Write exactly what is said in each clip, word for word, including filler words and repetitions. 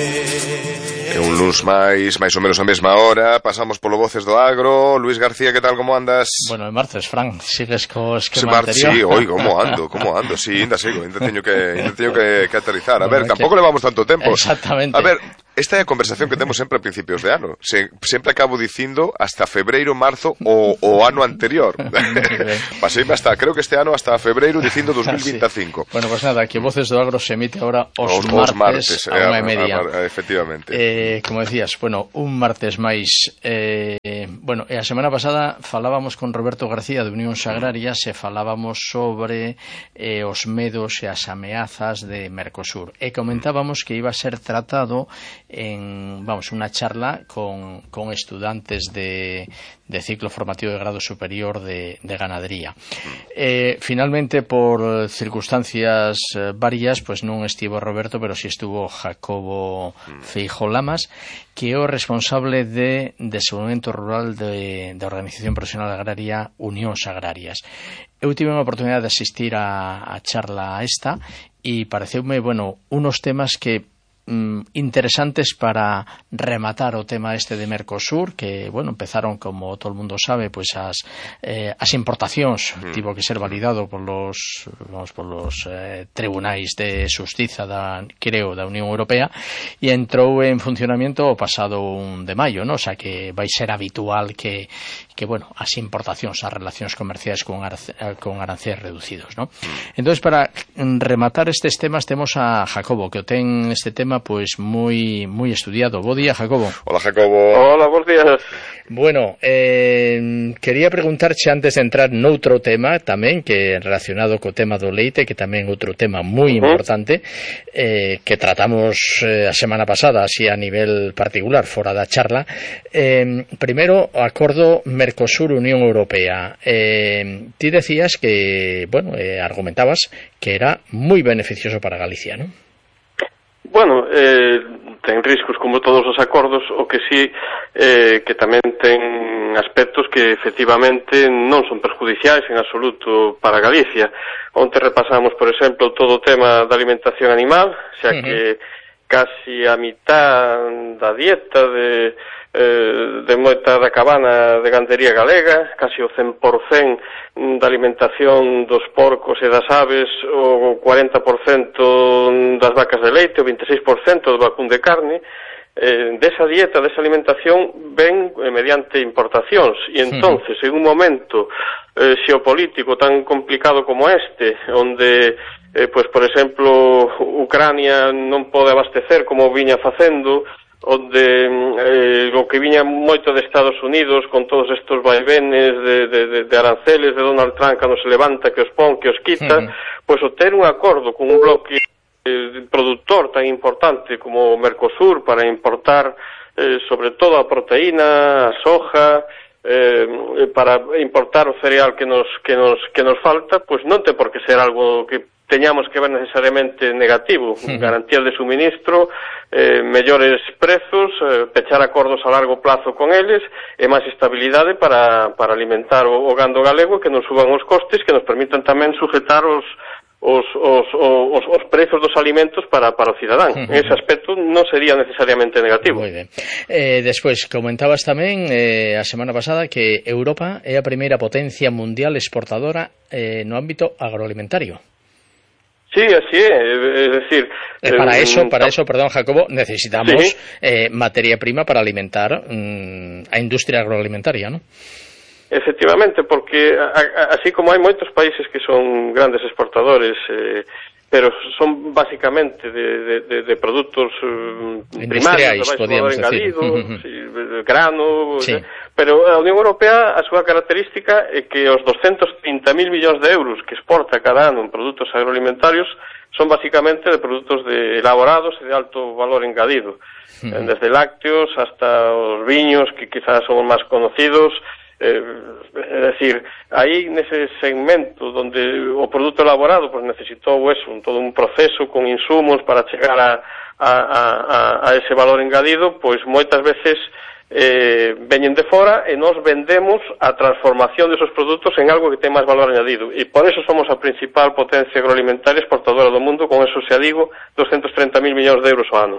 E un luns máis, máis ou menos a mesma hora, pasamos polo Voces do Agro. Luís García, que tal, como andas? Bueno, é martes, Fran, sigues co esquema Mar anterior. Sí, oi, como ando, como ando, sí, ainda sigo, ainda teño que, ainda teño que, que aterrizar. A ver, bueno, tampouco que... levamos tanto tempo. Exactamente. A ver, esta é a conversación que temos sempre a principios de ano. Se, sempre acabo dicindo hasta febreiro, marzo o, o ano anterior. Paseime hasta, creo que este ano hasta febreiro dicindo dos mil veinticinco. Sí. Bueno, pues nada, que Voces do Agro se emite ahora os, os, os martes, martes a unha e media. A, a, a, efectivamente. Eh, como decías, bueno, un martes máis. Eh, bueno, e a semana pasada falábamos con Roberto García de Unións Agrarias e falábamos sobre eh, os medos e as ameazas de Mercosur. E comentábamos que iba a ser tratado en, vamos, unha charla con, con estudantes de, de ciclo formativo de grado superior de, de ganadería. Eh, finalmente, por circunstancias varias, pues non estivo Roberto, pero si estuvo Jacobo Feijóo Lamas, que é o responsable de desenvolvemento rural de, de Organización Profesional Agraria Unións Agrarias. Eu tive unha oportunidade de asistir a, a charla esta e pareceume, bueno, unos temas que interesantes para rematar o tema este de Mercosur, que, bueno, empezaron, como todo o mundo sabe, pois as eh, as importacións, mm. tivo que ser validado por los, vamos, por los eh, tribunais de xustiza da, creo, da Unión Europea, e entrou en funcionamento o pasado un de maio, ¿no? O sea, que vai ser habitual que que, bueno, as importacións, as relacións comerciais con, arce, con aranceles reducidos, ¿no? Mm. Entonces, para rematar estes temas, temos a Jacobo, que o ten este tema pues moi moi estudiado. Bo día, Jacobo. Hola, Jacobo. Hola, bons días. Bueno, eh, quería preguntarche antes de entrar noutro tema tamén, que relacionado co tema do leite, que tamén outro tema moi uh-huh. importante, eh, que tratamos eh, a semana pasada, así a nivel particular, fora da charla. Eh, primeiro, o acordo Mercosur-Unión Europea. Eh, ti decías que, bueno, eh, argumentabas que era moi beneficioso para Galicia, ¿no? Bueno, eh, ten riscos como todos os acordos, o que sí eh, que tamén ten aspectos que efectivamente non son perjudiciais en absoluto para Galicia. Onte repasamos, por exemplo, todo o tema da alimentación animal, xa que uh-huh. casi a mitad da dieta de eh, de moita da cabana de gandería galega, casi o cen por cento da alimentación dos porcos e das aves, o cuarenta por cento das vacas de leite, o vinte e seis por cento do vacún de carne, eh, desa dieta, desa alimentación ven eh, mediante importacións, e entonces en un momento eh, xeopolítico tan complicado como este, onde eh, pues, por exemplo, Ucrania non pode abastecer como viña facendo, onde eh, o que viña moito de Estados Unidos con todos estos vaivenes de, de, de, de aranceles de Donald Trump cando se levanta, que os pon, que os quita, uh-huh. pois o ter un acordo con un bloque eh, productor tan importante como o Mercosur para importar eh, sobre todo a proteína, a soja, eh, para importar o cereal que nos, que nos, que nos falta, pois non ten por que ser algo que teñamos que ver necesariamente negativo. Uh-huh. Garantías de suministro, eh, mellores prezos, eh, pechar acordos a largo plazo con eles e máis estabilidade para, para alimentar o, o gando galego, que nos suban os costes, que nos permitan tamén sujetar os os, os, os, os prezos dos alimentos para, para o cidadán. Uh-huh. Ese aspecto non sería necesariamente negativo. Moi ben. Eh, despois, comentabas tamén eh, a semana pasada que Europa é a primeira potencia mundial exportadora eh, no ámbito agroalimentario. Sí, así é, es decir... Eh, para eh, eso, para eso, perdón, Jacobo, necesitamos sí. eh, materia prima para alimentar mm, a industria agroalimentaria, ¿no? Efectivamente, porque a, a, así como hai moitos países que son grandes exportadores, eh, pero son básicamente de, de, de, de productos um, primarios, de baixo valor engadido, sí, grano, sí. eh, pero a Unión Europea, a súa característica é que os doscientos trinta mil millóns de euros que exporta cada ano en produtos agroalimentarios son basicamente de productos de elaborados e de alto valor engadido, uh-huh. desde lácteos hasta os viños, que quizás son os máis conocidos. Eh, é dicir, aí nese segmento onde o produto elaborado pues, necesitou eso, un, todo un proceso con insumos para chegar a, a, a, a ese valor engadido, pois moitas veces eh, veñen de fora e nós vendemos a transformación desos produtos en algo que ten máis valor añadido, e por eso somos a principal potencia agroalimentaria exportadora do mundo, con eso xa digo, doscientos treinta mil millóns de euros ao ano.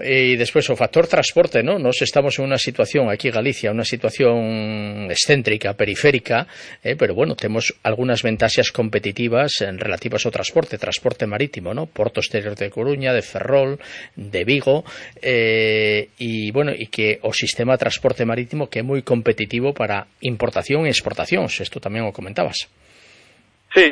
E despois o factor transporte, ¿no? Nos estamos en unha situación aquí en Galicia, unha situación excéntrica, periférica, eh, pero bueno, temos algunhas ventaxas competitivas en relativas ao transporte, transporte marítimo, ¿no? Porto exterior de Coruña, de Ferrol, de Vigo, eh, e bueno, e que o sistema de transporte marítimo que é moi competitivo para importación e exportacións, isto tamén o comentabas. Sí,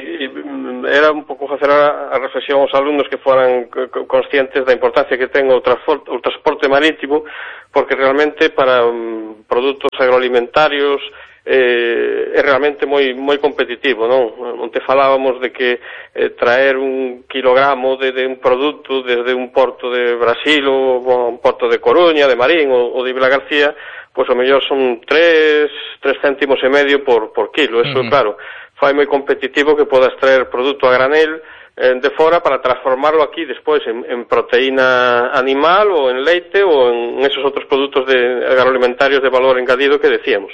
era un pouco facer a reflexión aos alumnos que foran conscientes da importancia que ten o transporte, o transporte marítimo, porque realmente para um, produtos agroalimentarios eh, é realmente moi moi competitivo, non? Onte falábamos de que eh, traer un kilogramo de, de un produto desde un porto de Brasil ou un porto de Coruña, de Marín ou, ou de Vilagarcía, pois o mellor son tres, tres céntimos e medio por, por kilo. Eso, uh-huh. claro, fai moi competitivo que podas traer produto a granel de fora para transformarlo aquí despois en, en proteína animal ou en leite ou en esos outros produtos de agroalimentarios de valor engadido que decíamos.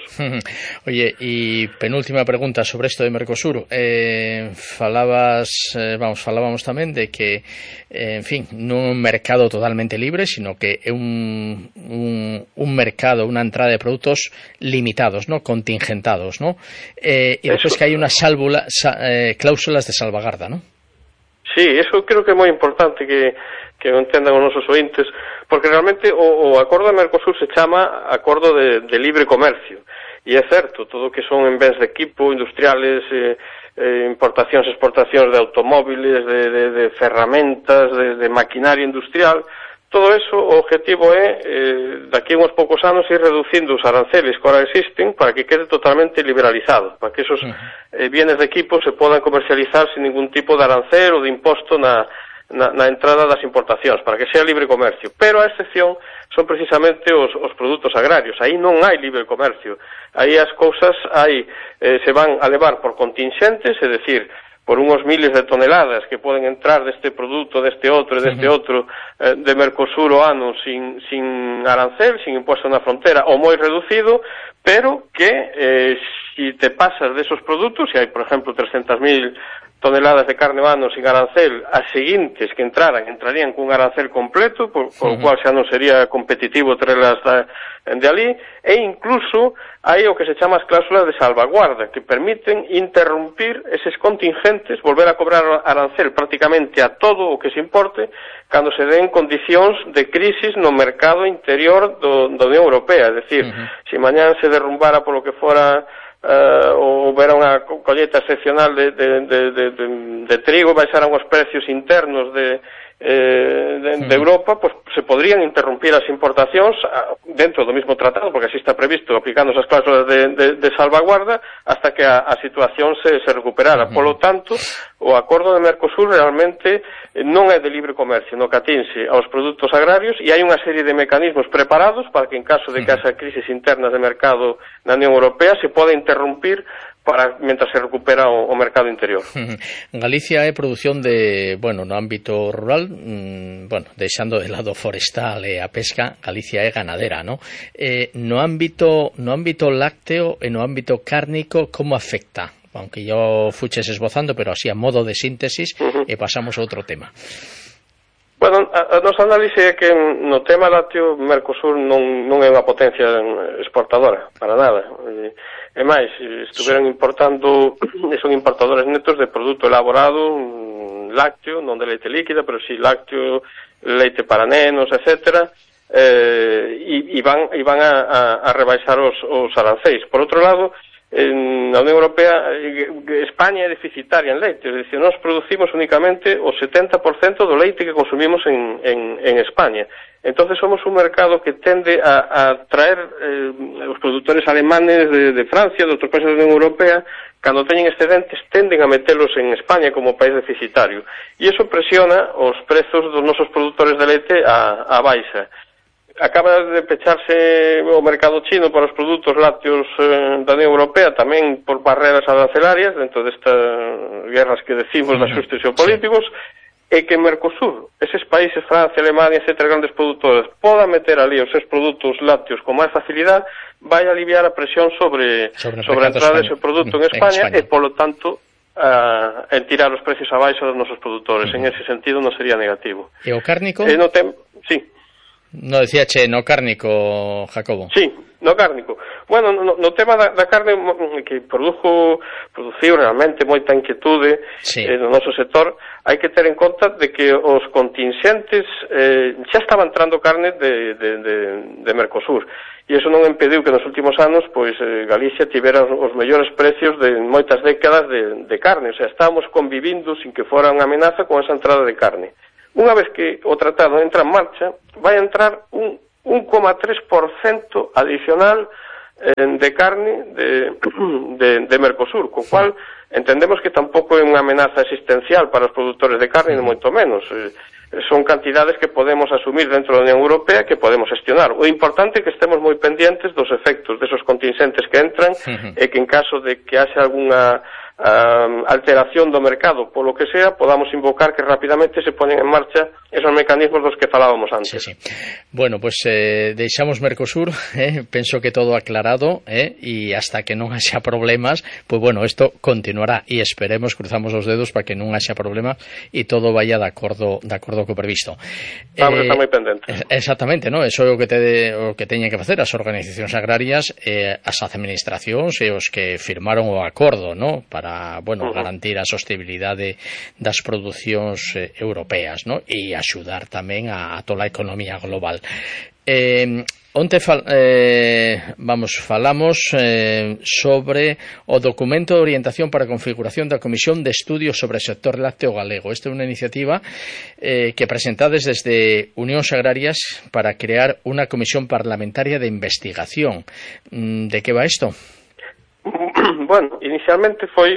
Oye, e penúltima pregunta sobre isto de Mercosur. Eh, falabas, eh, vamos, falábamos tamén de que, eh, en fin, non é un mercado totalmente libre, sino que é un, un, un mercado, unha entrada de produtos limitados, ¿no? Contingentados, ¿no? Eh, e despois que hai unhas sálvula, sa, eh, cláusulas de salvagarda, ¿no? Sí, eso creo que é moi importante que, que entendan os nosos ointes, porque realmente o, o acordo de Mercosur se chama acordo de, de libre comercio, e é certo, todo o que son en bens de equipo, industriales, eh, eh, importacións, exportacións de automóviles, de, de, de ferramentas, de, de maquinaria industrial, todo eso, o objetivo é, eh, daqui a uns poucos anos, ir reducindo os aranceles que ahora existen para que quede totalmente liberalizado, para que esos eh, bienes de equipo se podan comercializar sin ningún tipo de arancel ou de imposto na, na, na entrada das importacións, para que sea libre comercio. Pero a excepción son precisamente os, os produtos agrarios. Aí non hai libre comercio. Aí as cousas hai, eh, se van a levar por contingentes, é dicir, por unos miles de toneladas que poden entrar deste produto, deste outro e deste outro eh, de Mercosur o ano sin, sin arancel, sin impuesto na frontera, ou moi reducido, pero que eh, si te pasas desos produtos, se hai, por exemplo, trescentas mil toneladas de carne o ano sin arancel, as seguintes que entraran, entrarían cun arancel completo, por, por uh-huh. o cual xa non sería competitivo traerlas de ali, e incluso hai o que se chama as cláusulas de salvaguarda, que permiten interrumpir eses contingentes, volver a cobrar arancel prácticamente a todo o que se importe, cando se den condicións de crisis no mercado interior do, da Unión Europea. É dicir, uh-huh. se mañán se derrumbara polo que fora Uh, ou vera unha colleta excepcional de, de, de, de, de, de trigo e baixaran os precios internos de, eh, de, de Europa, pues se podrían interrumpir as importacións dentro do mismo tratado, porque así está previsto, aplicando esas cláusulas de, de, de salvaguarda hasta que a, a situación se, se recuperara. Polo tanto, o acordo de Mercosur realmente non é de libre comercio, no que atinse aos produtos agrarios, e hai unha serie de mecanismos preparados para que en caso de que haxa crisis internas de mercado na Unión Europea se poda interrumpir para mientras se recupera o, o mercado interior. Galicia é produción de, bueno, no ámbito rural, mmm, bueno, deixando de lado forestal e a pesca, Galicia é ganadera, ¿no? Eh, no ámbito no ámbito lácteo e no ámbito cárnico, como afecta? Aunque yo fuches esbozando, pero así a modo de síntesis, uh-huh. e pasamos a outro tema. Bueno, a, a nosa análise é que no tema lácteo Mercosur non, non é unha potencia exportadora, para nada. E, e máis, estuveron importando, son importadores netos de produto elaborado, lácteo, non de leite líquida, pero si lácteo, leite para nenos, etcétera, eh, e, e van, e van a, a, a rebaixar os, os aranceis. Por outro lado, en a Unión Europea, España é deficitaria en leite, é dicir, nós producimos únicamente o setenta por cento do leite que consumimos en, en, en España. Entonces somos un mercado que tende a, a traer eh, os produtores alemanes de, de Francia, de outros países da Unión Europea, cando teñen excedentes, tenden a metelos en España como país deficitario. E iso presiona os prezos dos nosos produtores de leite a, a baixa. Acaba de pecharse o mercado chino para os produtos lácteos eh, da Unión Europea, tamén por barreras arancelarias, dentro destas guerras que decimos de axustes geopolíticos, e que Mercosur, eses países, Francia, Alemania, etcétera, grandes produtores, podan meter ali os seus produtos lácteos con máis facilidade, vai aliviar a presión sobre, sobre, sobre a entrada dese produto en España, en España e, polo tanto, a, en tirar os precios abaixo dos nosos produtores. Uh-huh. En ese sentido non sería negativo. E o cárnico? Eh, no tem... Sí. No decía che, no cárnico, Jacobo. Sí, no cárnico. Bueno, no, no tema da, da carne que produjo, produciu realmente moita inquietude sí. eh, no noso sector, hai que ter en conta de que os contingentes eh, xa estaba entrando carne de, de, de, de Mercosur, e iso non impediu que nos últimos anos pois eh, Galicia tivera os, os mellores precios de moitas décadas de, de carne, o sea, estábamos convivindo sin que fora unha amenaza con esa entrada de carne. Unha vez que o tratado entra en marcha, vai entrar un un coma tres por cento adicional eh, de carne de, de, de Mercosur, co cual entendemos que tampouco é unha amenaza existencial para os produtores de carne, ni moito menos. Eh, son cantidades que podemos asumir dentro da Unión Europea, que podemos gestionar. O importante é que estemos moi pendientes dos efectos desos contingentes que entran uh-huh. e que en caso de que haxe algunha Uh, alteración do mercado, polo que sea, podamos invocar que rapidamente se ponen en marcha esos mecanismos dos que falábamos antes. Sí, sí. Bueno, pues eh, deixamos Mercosur, eh, penso que todo aclarado, eh, e hasta que non haxa problemas, pues bueno, isto continuará e esperemos, cruzamos os dedos para que non haxa problema e todo vaya de acordo de acordo co previsto. Vamos, eh, está moi pendente. Exactamente, ¿no? Eso é o que te o que teñen que facer as organizacións agrarias, eh, as administracións e os que firmaron o acordo, ¿no? Para para, bueno, uh-huh. garantir a sostenibilidade das producións eh, europeas, ¿no? E axudar tamén a, a toda a economía global. Eh, onte fal, eh, vamos, falamos eh, sobre o documento de orientación para a configuración da Comisión de Estudios sobre o sector lácteo galego. Esta é unha iniciativa eh, que presentades desde Unións Agrarias para crear unha comisión parlamentaria de investigación. ¿De que va isto? Bueno, inicialmente foi